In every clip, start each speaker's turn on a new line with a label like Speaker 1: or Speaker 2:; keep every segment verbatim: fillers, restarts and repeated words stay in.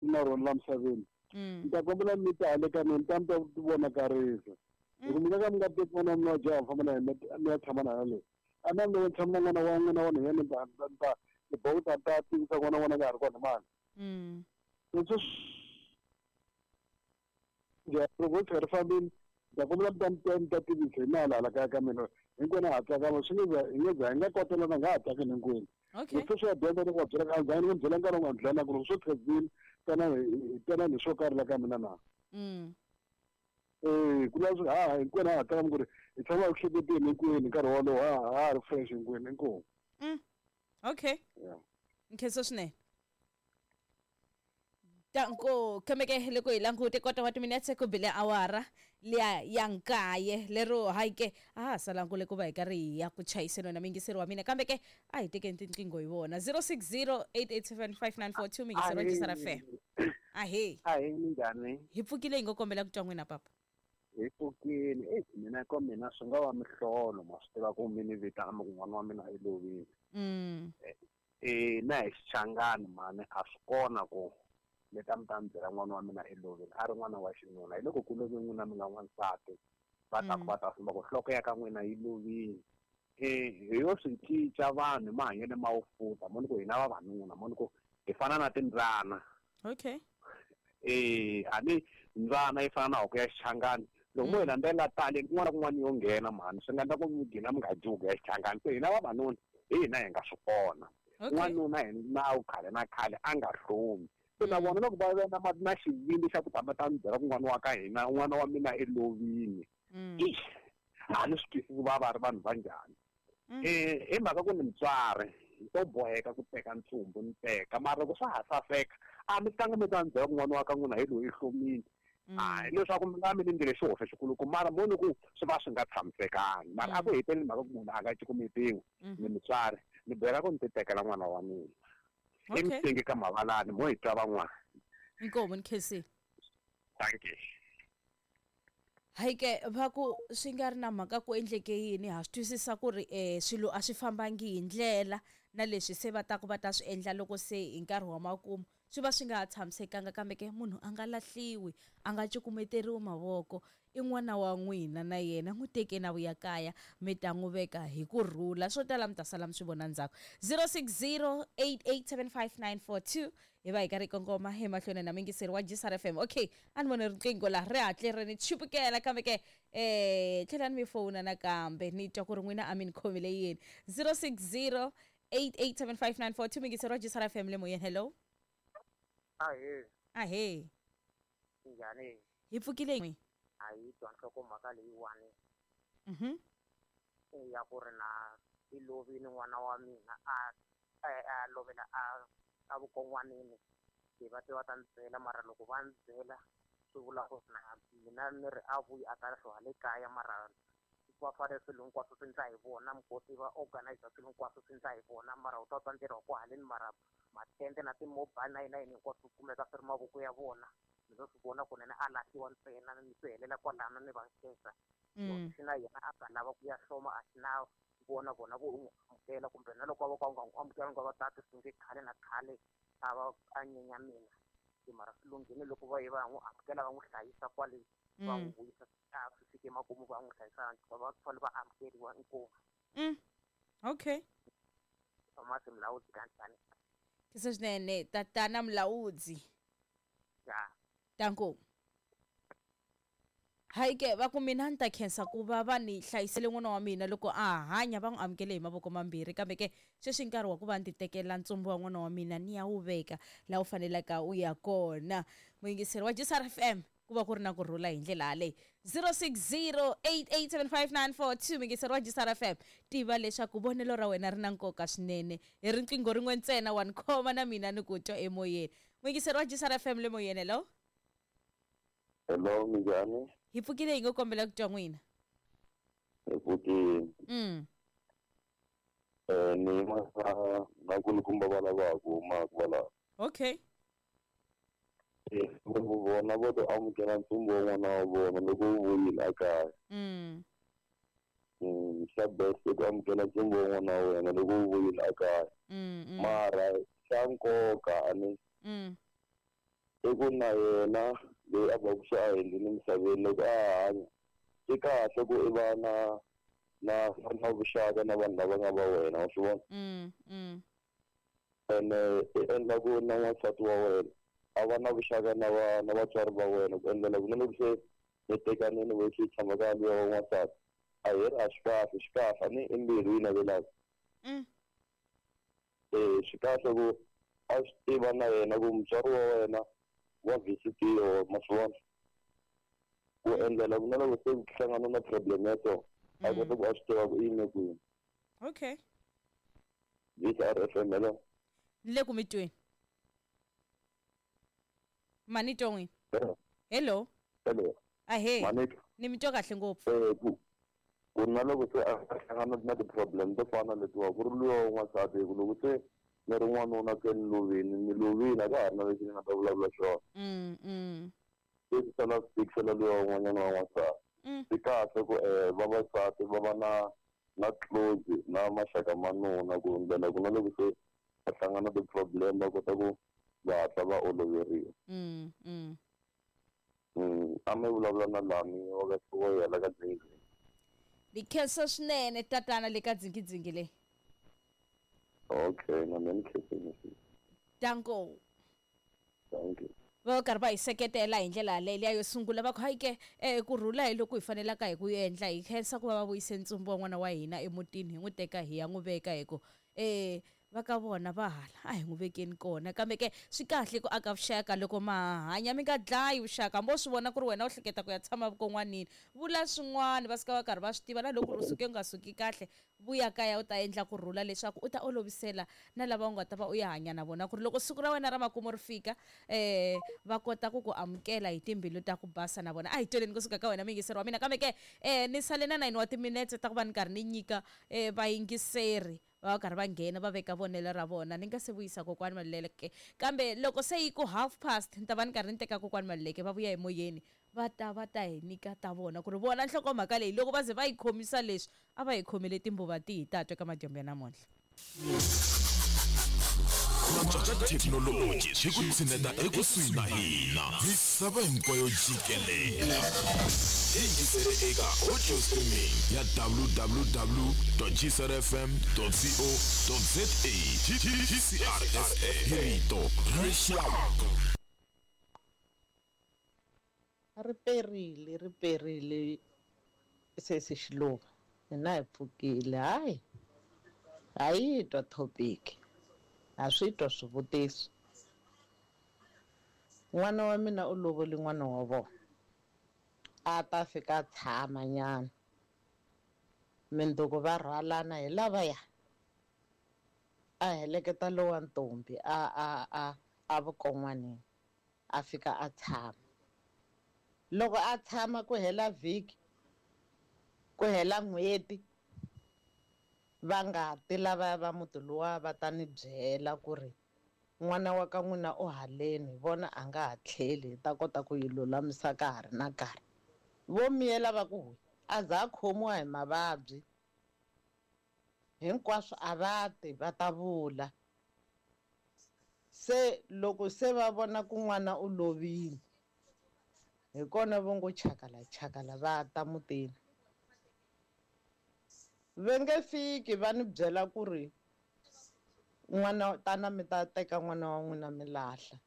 Speaker 1: Na rona la misaveni.
Speaker 2: Mm.
Speaker 1: Ni ta kombela mi ta hale ka mina ni ta mi ta vonakarisa. Loko mi nga ka mi nga teki n'wana wa mina wa jaha mi famba na yena mi ya tshama na yena le. A na loko ni tshama na n'wana wa n'wina wa nhwanyana ni ta ni ta ni boha ku ta ta tivisa n'wana wa n'wina ka ha ri kona mani.
Speaker 2: Mm.
Speaker 1: Leswi loko ro tshuka ri fambile ni ta kombela mi ta mi ta mi ta tivisa hi na hala kaya ka mina hinkwenu ha tsakama swi nge za hi nge za hi nga kotelana hi nga ha tsakeni hinkwenu.
Speaker 2: Okay.
Speaker 1: Leswi swi ya dyondza loko va byela a ni byela nkarhi wun'wana dlana ku loko swo tshuka swi tana hi tana ni swo karhi la ka mina na.
Speaker 2: Mm.
Speaker 1: Eh ku la swi ha hinkwenu ha tsakama ku ri hi tshama hi hleketeni hinkwenu nkarhi wolowo ha ha ri fresh hinkwenu inkomu.
Speaker 2: Mm. Okay.
Speaker 1: Yeah.
Speaker 2: Nkhensa swinene. Tanko kambe ke loko hi langute kota wa timinetse ku bile awara liya ya nkaye lero hayi ke a ha salangu le ku va hi karhi hi ya ku chayiseni na mingiseri wa mina kambe ke a hi tekeni tinqingho hi vona zero six zero eight eight seven five nine four two mingiseri wa Jisara F M. Ahee.
Speaker 3: Ahee, minjhani?
Speaker 2: Hi pfukile hi ngo kombela ku twa n'wina papa.
Speaker 3: Hi pfukile. Eh mina ka mina swi nga va mihlolo ma swi tiva ku mi ni vitana mi ku n'wana wa mina i lovile.
Speaker 2: Mm.
Speaker 3: Eh na hi xichangani mani a swi kona ku mi ta mi ta mi byela n'wana wa mina i lovile a ri n'wana wa xinuna hi loko ku love n'wina mi nga n'wansati va ta ku va ta famba ku nhloko ya ka n'wina yi lovile. Eh hi yo swi cinca vanhu hi mahanyelo ma wu futa moni ku hina vavanuna moni ku hi fana na timbyana.
Speaker 2: Okay.
Speaker 3: Eh a ni mbyana yi fana na huku ya xichangani loko mo hi landzelela tali kun'wana na kun'wana yo nghena mhani swi nga endla ku mi gina mi nga dyi ya xichangani se hina vavanuna hi hina hi nga swi kona. N'wanuna hi nawu khale na khale a nga hlomi. Se na vona loko va na ma na xivindzi xa ku tama ta mi byela ku n'wana wa ka hina n'wana wa mina i lovile. Ixi a ni swi twisisi ku va va ri vanhu va njhani. Eh hi mhaka ku ni mutswari ni to boheka ku teka ntsumbu ni teka mara loko swa ha saseka a mi tanga mi ta ni byela ku n'wana wa ka n'wina hi loyi i hlomile. Hayi leswaku mi nga mi ni ndlele xihoxo xikuluku mara moni ku swi va swi nga tshamisekangi mara a ku heteleli mhaka ku munhu a nga cukumetiwi ni mutswari ni byela ku ni ti tekela n'wana wa mina.
Speaker 2: Okay.
Speaker 3: Emtenge ka mavalani mo hi twa van'wana.
Speaker 2: Inkomu ni khensile.
Speaker 3: Thank you.
Speaker 2: Hayi ke va ku swi nga ri na mhaka ku endleke yini ha swi twisisa ku ri eh swilo a swi fambangi hi ndlela na leswi se va ta ku va ta swi endla loko se hi nkarhi wa makumu swi va swi nga ha tshamisekanga kambe ke munhu a nga lahliwi a nga cukumeteriwi mavoko i n'wana wa n'wina na yena n'wi teke na vuya kaya mi ta n'wi veka hi ku rhula swo tala mi ta sala mi swi vona ndzhaku zero six zero eight eight seven five nine four two hi va hi karhi kongoma emahlweni na mingiseri wa Jisara F M. Okay a ni vone riqingho laha ri hatle ri ni chupukela kambe ke eh tlhelani mi fowuna nakambe ni twa ku ri n'wina a mi ni khomile yini zero six zero eight eight seven five nine four two mingiseri wa Jisara F M le moyeni. Hello.
Speaker 4: Ahee.
Speaker 2: Ahee.
Speaker 4: Njhani?
Speaker 2: Hi pfukile.
Speaker 4: A yi twa nhlokomhaka leyiwani.
Speaker 2: Mhm.
Speaker 4: Ya ku ri na i lovile n'wana wa mina a a lovela a a vukon'wanini hi va te va ta ni byela mara loko va ni byela swi vula ku na mina ni ri a vuyi a ta hloha le kaya mara va fanele swilo hinkwaswo swi ndla hi vona mukoti va organize swilo hinkwaswo swi ndla hi vona mara u ta twa ntirho wa ku haleni mara matende na ti-mobile na yini na yini hinkwaswo swi kumeka swi ri mavoko ya vona ni lo swi vona kunene a lahliwa ntsena ni swi helela kwalano ni va nkhensa xi na yena a nga lava ku ya hloma a xi na vona vona vo n'wi amukela kumbe na loko va ka u nga n'wi amukelanga va ta ti sunge khale na khale a va a nyenya mina se mara swi lunghile loko va ye va n'wi amukela va n'wi hlayisa kwale va n'wi vuyisa a swi fike makumu va n'wi hlayisa va fanele va amukeriwa inkomu.
Speaker 2: Mm. Okay.
Speaker 4: Thomas Mulaudzi kanjhani?
Speaker 2: Kisa swinene tatana Mulaudzi.
Speaker 4: Ya.
Speaker 2: Tanko. Hayi ke va ku mina ni ta khensa ku va va ni hlayisele n'wana wa mina loko a hanya va n'wi amukele hi mavoko mambirhi kambe ke sweswi nkarhi wa ku va ni ti tekela ntsumbu wa n'wana wa mina ni ya wu veka laha wu fanelaka u ya kona. Muyingiseri wa Jisara F M ku va ku ri na ku rhula hi ndlela yaleyo zero six zero eight eight seven five nine four two muyingiseri wa Jisara F M tiva leswaku vonelo ra wena ri na nkoka swinene hi riqingho rin'we ntsena wa ni khoma na mina ni ku twa emoyeni. Muyingiseri wa Jisara F M le moyeni. Hello.
Speaker 5: Hello, minjhani?
Speaker 2: Hi pfukile hi ngo kombela ku twa n'wina.
Speaker 5: Hi pfukile.
Speaker 2: Mm.
Speaker 5: Eh ni ma na kulukumba va lava ku huma kwala.
Speaker 2: Okay.
Speaker 5: Eh vona vo to amukela ntsumbu wa n'wana wa vona loko wu vuyile a kaya.
Speaker 2: Mm.
Speaker 5: Mm, xa best ku amukela ntsumbu wa n'wana wa wena loko wu vuyile a kaya.
Speaker 2: Mm.
Speaker 5: Mara xa nkoka a ni
Speaker 2: Mm.
Speaker 5: I ku na yena loyi a va ku se a hundzile emisaveni loko a hanya swi kahle ku i va na na na vuxaka na vanhu lava nga va wena wa swi vona.
Speaker 2: Mm, mm.
Speaker 5: Ene i endla ku na n'wansati wa wena a va na vuxaka na va na vatswari va wena ku endlela ku na loko se mi tekanini vo swi tshama ka luya wa n'wansati a hi ri a swi kahle swi kahle a ni i mbilu yi navelaka.
Speaker 2: Mm.
Speaker 5: Eh swi kahle ku a swi tiva na yena ku mutswari wa wena wa visitiwa ma swi vona ku endlela ku na loko se ku hlangana na problem ya so a kota ku a swi tiva ku i yime kwini.
Speaker 2: Okay.
Speaker 5: V C R F M hello.
Speaker 2: Ni le ku mi tweni. Mani twa n'wina. Hello.
Speaker 5: Hello.
Speaker 2: Ahee.
Speaker 5: Mani
Speaker 2: Ni mi twa kahle ngopfu.
Speaker 5: Eh ku ku na loko se a hlangana na ti-problem to fana na letiwa ku ri luya wa n'wansati hi ku loko se ni ri n'wanuna se ni lovini ni lovini a ka ha ri na lexi ni nga ta vulavula xona.
Speaker 2: Mm, mm.
Speaker 5: Se swi sala swi tikisela luya wun'wanyana wa n'wansati.
Speaker 2: Mm.
Speaker 5: Swi kahle ku eh vavasati va va na na close na maxaka ma nuna ku ndlela ku na loko se va hlangana ti-problem va kota ku va hatla va oloveriwa.
Speaker 2: Mm, mm.
Speaker 5: Mm, a mi vulavula na Lami wa ka wa ka Dzingidzingi.
Speaker 2: Ni khensa swinene tatana le ka Dzingidzingi leyi.
Speaker 5: Okay, na mina ni khensile.
Speaker 2: Danko.
Speaker 5: Thank you.
Speaker 2: Va karhi va hi seketela hi ndlela yaleyo liya yo sungula va ku hayi ke eh ku rhula hi loko hi fanelaka hi ku endla hi khensa ku va va vuyise ntsumbu wa n'wana wa hina emutini hi n'wi teka hi ya n'wi veka hi ku eh va ka vona va hala a hi n'wi vekeni kona kambe ke swi kahle ku aka vuxaka loko ma hanya mi nga dlayi vuxaka hambi wo swi vona ku ri wena u hleketa ku ya tshama vukon'wanini vula swin'wana va suka va karhi va swi tiva na loko u suke u nga suki kahle vuya kaya u ta endla ku rhula leswaku u ta olovisela na lava u nga ta va u ya hanya na vona ku ri loko siku ra wena ra makumu ri fika eh va kota ku ku amukela hi timbilu ta ku basa na vona. A hi tweleni kusuka ka wena muyingiseri wa mina kambe ke eh ni sale na nine wa timinetse ta ku va ni karhi ni nyika eh vayingiseri va karhi va nghena va veka vonelo ra vona ni nga se vuyisa kokwani Maluleke kambe loko se yi ku half past ni ta va ni karhi ni teka kokwani Maluleke va vuya emoyeni va ta va ta hi nyika ta vona ku ri vona nhlokomhaka leyi loko va ze va yi khomisa leswi a va yi khomele timbuva tihi ta twa eka madyambu ya namuntlha.
Speaker 6: Ku thekinoloji swi ku tshineta ekusuhi na hina misava hinkwayo jikelele. Yingisele eka audio streaming ya w w w dot g c r f m dot co dot z a. G C R F M hi rito ra rixaka.
Speaker 7: Ri perile ri perile sesi Xiluva hina hi pfukile hayi ha yi twa topic a swi twa swivutiso. N'wana wa mina u lovole n'wana wa vona a ta fika a tshama nyana mindzuku va rhwalana hi lavaya a heleketa lowa ntombi a a a a vukon'wanini a fika a tshama. Loko a tshama ku hela vhiki ku hela n'hweti va nga ti lavaya va muti luwa va ta ni byela ku ri n'wana wa ka n'wina u haleni vona a nga ha tlheli hi ta kota ku yi lulamisa ka ha ri na nkarhi. Vo miyela va ku a za a khomiwa hi mavabyi hinkwaswo a va ti va ta vula. Se loko se va vona ku n'wana u lovile hi kona vo ngo chakala chakala va ta mutini. Va nge fiki va ni byela ku ri n'wana tana mi ta teka n'wana wa n'wina mi lahla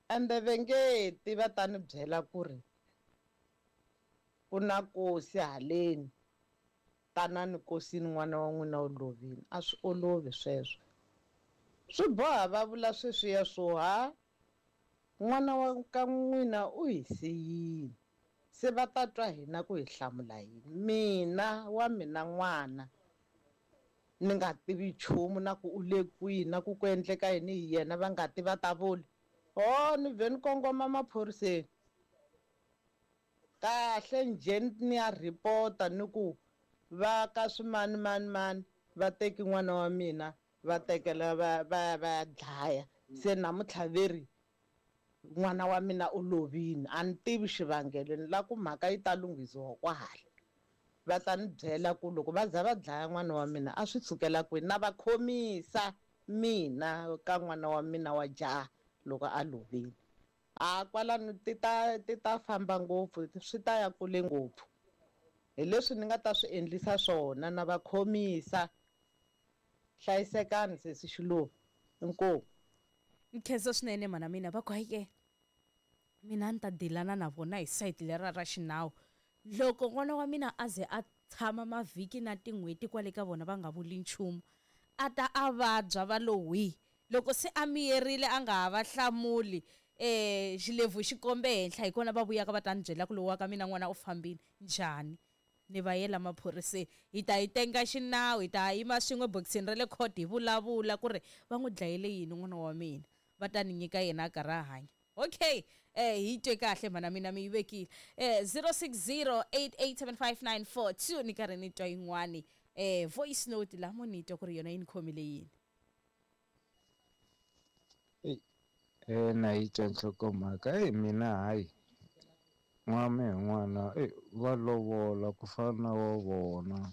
Speaker 7: ende va nge ti va ta ni byela ku ri ku na kosi haleni tanani kosini n'wana wa n'wina u lovile. A swi olovi sweswo swi boha va vula sweswiya swo ha n'wana wa ka n'wina u hi siyile se va ta twa hina ku hi hlamula yini. Mina wa mina n'wana ni nga tivi nchumu na ku u le kwihi na ku ku endleka yini hi yena va nga ti va ta vula ho ni vhe ni kongoma maphoriseni kahle njhe ni ya ripota ni ku va ka swimani mani mani va teki n'wana wa mina va tekela va va va dlaya se namuntlha veri n'wana wa mina u lovile a ni tivi xivangelo ni la ku mhaka yi ta lunghisiwa kwahala. Va ta ni byela ku loko va za va dlaya n'wana wa mina a swi sukela kwini na va khomisa mina ka n'wana wa mina wa jaha loko a lovile. A kwalano ti ta ti ta famba ngopfu, swi ta ya kule ngopfu. Hi leswi ni nga ta swi endlisa swona na va khomisa. Hlayisekani sesi Xiluva. Inkomu.
Speaker 2: Nkhensa swinene mana mina va ku hayi ke mina ni ta dilana na vona hi sayiti lera ra xinawu. Loko n'wana wa mina a ze a tshama mavhiki na tin'hweti kwale ka vona va nga vuli nchumu, a ta a vabya va lo hwi. Loko se a miyerile a nga ha va hlamuli, eh xilebvu xi kombe henhla, hi kona va vuyaka va ta ni byela ku lowa ka mina n'wana u fambile njhani. Ni va yela maphoriseni, hi ta hi tenga xinawu, hi ta yima swin'we bokisini ra le court hi vulavula ku ri va n'wi dlayele yini n'wana wa mina, va ta ni nyika yena a karhi a hanya. Okay, eh hi twe kahle mana mina mi yi vekile. Eh zero six zero eight eight seven five nine four two ni karhi ni twa yin'wani eh voice note la mo ni twa ku ri yona yi ni khomile yini.
Speaker 8: Eh na yi twa nhlokomhaka eh mina hayi n'wana hi n'wana eh va lovola ku fana na wa vona.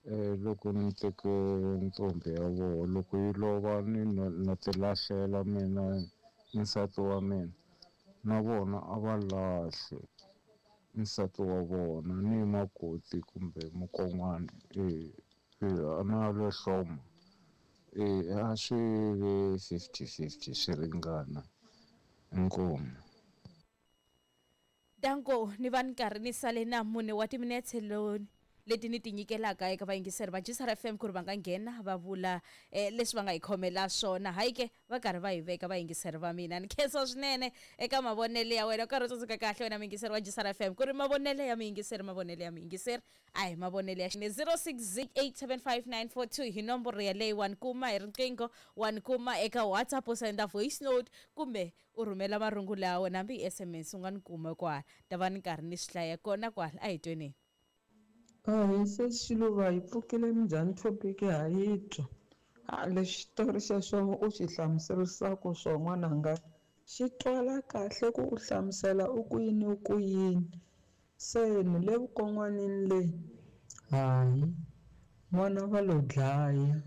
Speaker 8: Eh loko ni teke ntombi ya vona, loko yi lova ni na ti lahlela mina nsati wa mina, na vona a va lahle nsati wa vona ni makoti kumbe mukon'wana eh na lo hloma eh a swi ve fifty fifty swi ringana. Inkomu.
Speaker 2: Danko ni va ni karhi ni sale na mune wa timinetse loni leti ni ti nyikelaka eka vayingiseri va G S R F M ku ri va nga nghena va vula eh, leswi va nga hi khomela swona. Hayi ke va karhi va hi veka vayingiseri va mina. Ni khensa swinene eka mavonelo ya wena, u karhi u tsundzuka kahle wena muyingiseri wa G S R F M ku ri mavonelo ya muyingiseri, mavonelo ya muyingiseri a hi mavonelo ya zero six eight seven five nine four two hi nomboro yaleyo. Wa ni kuma hi riqingho, wa ni kuma eka WhatsApp u senda voice note kumbe u rhumela marungula ya wena hambi hi S M S u nga ni kuma kwala, ta va ni karhi ni swi hlaya kona kwala. A hi tweni.
Speaker 9: Ahee sesi Xiluva, hi pfukile minjhani topic ha yi twa. Ha lexi xitori xexo u xi hlamuserisaka swo n'wananga xi twala kahle ku u hlamusela u ku yini u ku yini. Se ni le vukon'wanini le, hayi n'wana va lo dlaya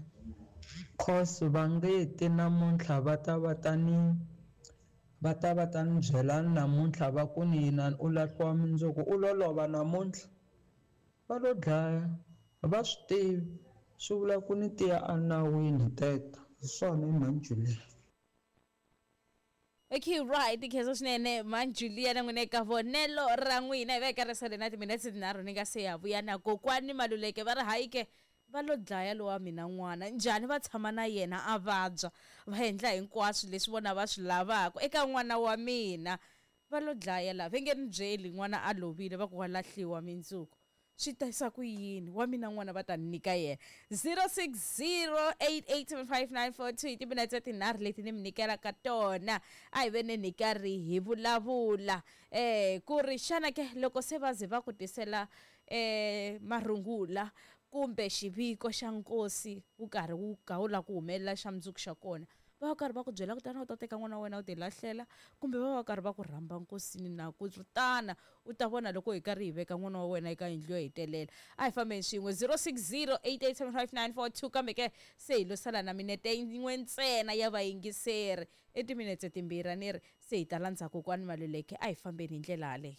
Speaker 9: cause va nge ti namuntlha va ta va ta ni va ta va ta ni byela namuntlha va ku ni yina u lahliwa mundzuku, u lo lova namuntlha. Va lo dlaya, va swi tivi, swi vula ku ni tiya enawini teta. Hi swona i mhani Julia.
Speaker 2: Okay, right, khensa swinene mhani Julia na n'wina eka vonelo ra n'wina. Hi va eka risale na timinetse tinharhu ni nga se ya vuya na kokwani Maluleke va ri hayi ke va lo dlaya lowa mina n'wana njhani, va tshama na yena a vabya, va endla hinkwaswo leswi vona va swi lavaka eka n'wana wa mina, va lo dlaya la va nge ni byeli n'wana a lovile va ku wa lahliwa mindzuku. Swi tisa ku yini wa mina n'wana va ta ni nyika yena. Zero six zero eight eight seven five nine four two i timinetse tinharhu leti ni mi nyikelaka tona. A hi veni ni karhi hi vulavula eh ku ri xana ke loko se va ze va ku tisela eh marungula kumbe xiviko xa nkosi wu karhi wu ka wu lava ku humelela xa mundzuku xa kona, va karhi va ku byela ku tana u ta teka n'wana wa wena u ti lahlela, kumbe va va karhi va ku rhamba nkosini na ku ri tana u ta vona loko hi karhi hi veka n'wana wa wena eka yindlu yo hetelela. A hi fambeni swin'we zero six zero eight eight seven five nine four two kambe ke se hi lo sala na minete yin'we ntsena ya vayingiseri, i timinetse timbirhi a ni ri se hi ta landza kokwani Maluleke. A hi fambeni hi ndlela yaleyo.